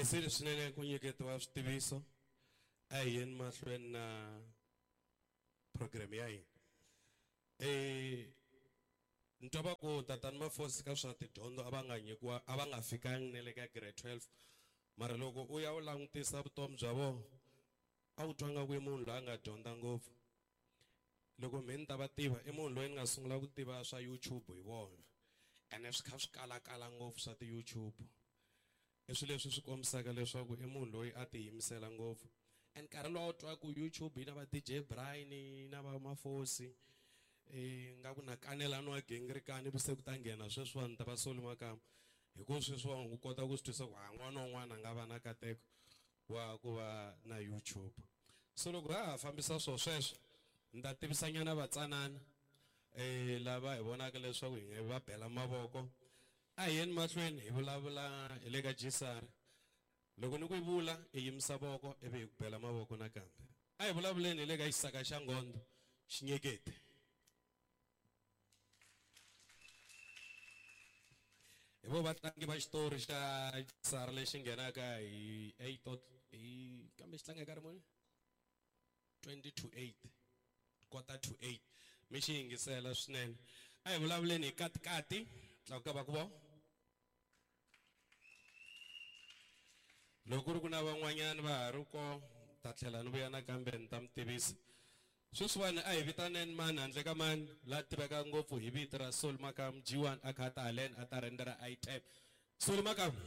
Khensile swinene ku nyiketiwa switiviso a hi yeni mahlweni na program ya hina. Ni twa va ku tatani Mafosi ka swa tidyondzo a va nga nyikiwa a va nga fikangi na le ka grade 12, mara loko u ya u langutisa vutomi bya vona a wu twa nga ku i munhu loyi a nga dyondza ngopfu. Loko mhe ni ta va tiva i munhu loyi ni nga sungula ku tiva swa YouTube hi vona, ene swi kha swi kalakala ngopfu swa ti-YouTube. I swilo leswi swi kombisaka leswaku i munhu loyi a tiyimisela ngopfu. And nkarhi lowu a wu twa ku YouTube yi na va DJ Brian na va Mafosi, nga ku na kanelano wa gingirikani se ku ta nghena sweswiwani ta va Solly Makamu, hi ku sweswiwani u kota ku swi twisa ku ha n'wana un'wana a nga va na nkateko wa ku va na YouTube. So loko ha ha fambisa swo sweswo ni ta tivisanyana vatsanana lava hi vonaka leswaku hi nga va bela mavoko. A hi yeni mahlweni hi vulavula hi le ka Gisari. Loko ni ku yi vula i yimisa voko ivi hi ku bela mavoko nakambe. A hi vulavuleni hi le ka xisaka xa Ngondo Xinyeketi. Hi vo vatlangi va xitori xa Gisari lexi nghenaka hi 8 hi kambe xi tlanga hi nkarhi muni? 20 to 8, quarter to 8. Mi xi yingisela swinene. A hi vulavuleni hi katikati, tlakuka va ku vo. Loko ku ri ku na van'wanyana va ha ri ko, ta tlhela ni vuya nakambe ni ta mi tivisa. Sweswiwani a hi vitaneni mani handle ka mani la tiveka ngopfu hi vito ra Solly Makamu, G1 a kha a ta haleni a ta rhenda item. Solly Makamu.